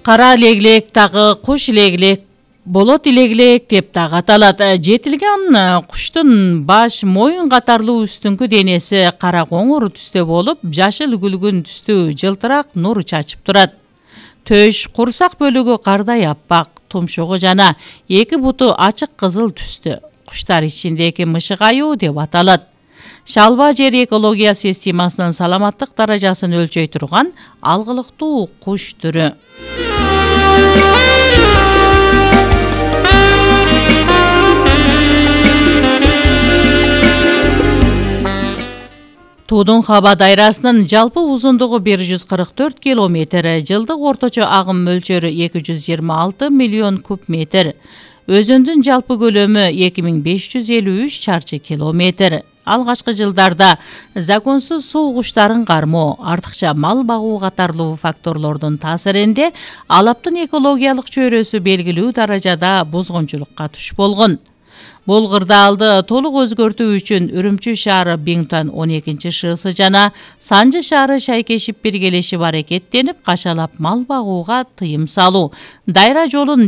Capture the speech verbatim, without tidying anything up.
Кара леглек дагы куш леглек, болот леглек деп дагы аталат. Жетилген куштун баш, моюн катарлуу үстүңкү денеси кара коңур түстө болуп, жашыл күлгүн түстүү жылтырак нур чачып турат. Төш, курсак бөлүгү кардай аппак, тумшугу жана эки буту ачык кызыл түстө. Куштар ичиндеги мышык аюу деп аталат. Шалба жер экология системасынын саламаттык даражасын өлчөй турган алгылыктуу куш түрү. Туудун хаба дайрасынын жалпы узундугу бир жүз кырк төрт километр, жылдык орточо агым мөлчөрү эки жүз жыйырма алты миллион куб метр. Өзөндүн жалпы көлөмү эки миң беш жүз элүү үч чарчы километр. Алгачкы жылдарда законсуз суу куштарын кармоо, артыкча мал багуу катарлуу факторлордун таасиринде алаптын экологиялык чөйрөсү белгилүү даражада бузгунчулукка туш болгон. Бул кырдаалды толук өзгөртүү үчүн Үрүмчү шаары Бингтон он экинчи ШС жана Санжы шаары шайкешип биргелешип аракеттенип, кашалап мал багууга тыйым салуу, дайра жолун